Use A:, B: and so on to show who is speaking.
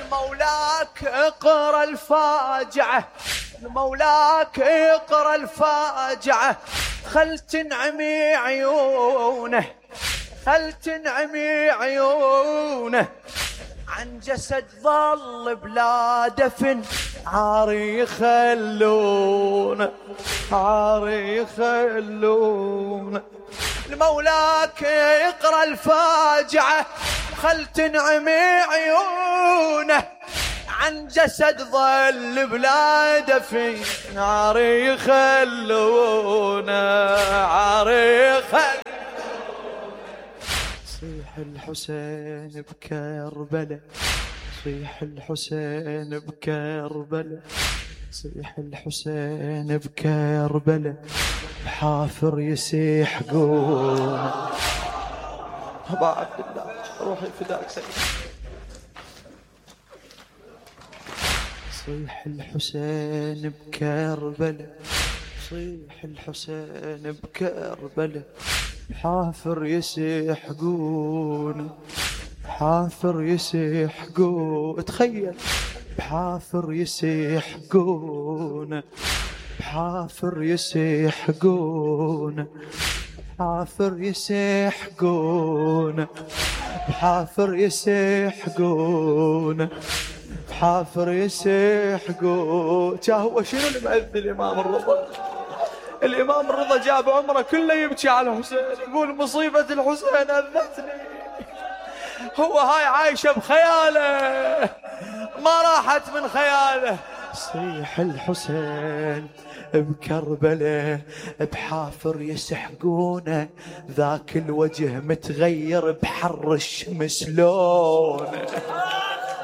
A: المولاك اقرأ الفاجعة، المولاك اقرأ الفاجعة، خل تنعمي عيونه، خل تنعمي عيونه، عن جسد ظل بلا دفن عاري يخلونه، عاري يخلونه. المولاك يقرأ الفاجعة خل تنعمي عيونه، عن جسد ظل بلا دفن عاري يخلونه، عاري يخلونه. صيح الحسين بكربلة، صيح الحسين بكربلة، صيح الحسين بكربلة، بحافر يسيح قوم. أبا عبد الله روحي فداك سيدي. صيح الحسين بكربلة، صيح الحسين بكربلة، حافر يسيحقون، حافر يسيحقون. تخيل بحافر يسيحقون، بحافر يسيحقون، بحافر يسيحقون، بحافر يسيحقون، بحافر يسيحقون. هو شنو اللي مأذي الإمام الرضا؟ الإمام الرضا جاب عمره كله يبكي على الحسين، يقول مصيبة الحسين أذتني. هو هاي عايشة بخياله ما راحت من خياله. صيح الحسين بكربلة، بحافر يسحقونه، ذاك الوجه متغير بحر الشمس لونه.